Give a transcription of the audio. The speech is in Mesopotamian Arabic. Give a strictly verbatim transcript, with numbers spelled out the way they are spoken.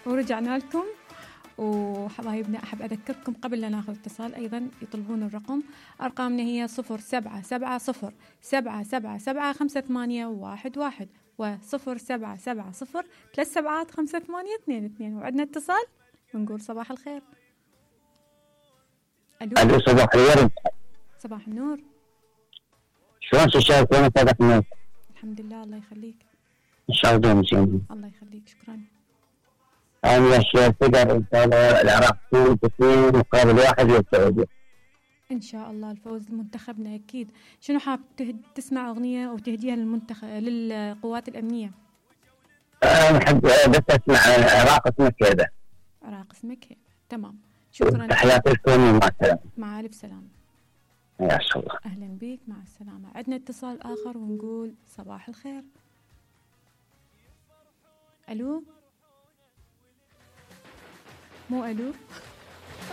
ورجعنا لكم. وحبايبنا أحب أذكركم قبل لا ناخذ اتصال أيضا يطلبون الرقم. أرقامنا هي صفر سبعة سبعة صفر سبعة سبعة سبعة خمسة ثمانية واحد واحد وصفر سبعة سبعة صفر ثلاث سبعات خمسة ثمانية اثنين اثنين. وعندنا اتصال ونقول صباح الخير. ألو صباح الورد. صباح النور. شلون تشاركون صدقنا؟ الحمد لله الله يخليك. إن شاء الله دوم زين. الله يخليك شكرا. أنا يا شيخ تقدر إن شاء الله العراق تفوز اثنين مقابل واحد للسعودية. إن شاء الله الفوز لمنتخبنا أكيد. شنو حاب تسمع أغنية أو تهديها للمنتخب للقوات الأمنية؟ أنا أحب بس أسمع عراق اسمك هذا. عراق اسمك هذا تمام. شكرا. تحياتي لكم ومع السلامة. مع ألف سلامة. يا الله. أهلا بك مع السلامة. عندنا اتصال آخر ونقول صباح الخير. ألو مو ألو